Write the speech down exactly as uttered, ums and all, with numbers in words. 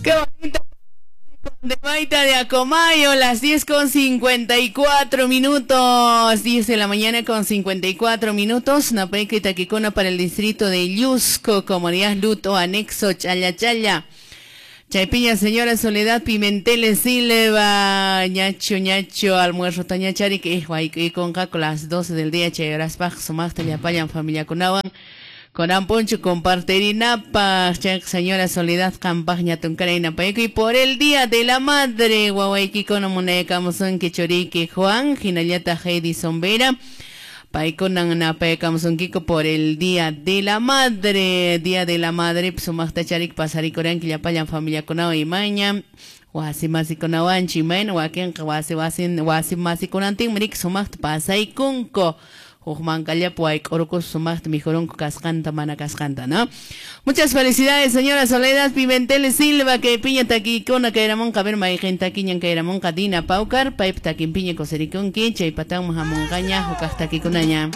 Qué bonito. De Maita de Acomayo, las diez con cincuenta y cuatro minutos, diez de la mañana con cincuenta y cuatro minutos, Napeca y Taquicona para el distrito de Llusco, comunidad Luto, anexo Chaya Chaya. Chaypiña, señora Soledad Pimentel Silva, ñacho, ñacho, almuerzo tañachari, que es con las doce del día, chayaraspaj, sumaqta llapallan familia kunawan. Con Amponcho compartirinapa, señora Soledad Campaña Tuncarina y por el Día de la Madre, Wawaiki kono munayakamusunki churiki Juan, hinallata Heidi Sombera, paykunan napayakamusunkiko por el Día de la Madre, Día de la Madre, sumaqta charik pasarikuranki llapallan familia kunawan imaña, wasi masikunawanchi imayna, wakinqa wasi wasi wasi masikunantinmi riki sumaqta pasaykunku. ¿No? Muchas felicidades, señora Soledad Pimentel Silva, que piña taquicona, que eramonca, ver maijenta quiñan, que eramonca, Dina Paucar, paip taquimpiña, cosericonqui, chaypatán, majamoncaña, jocas taquiconaña.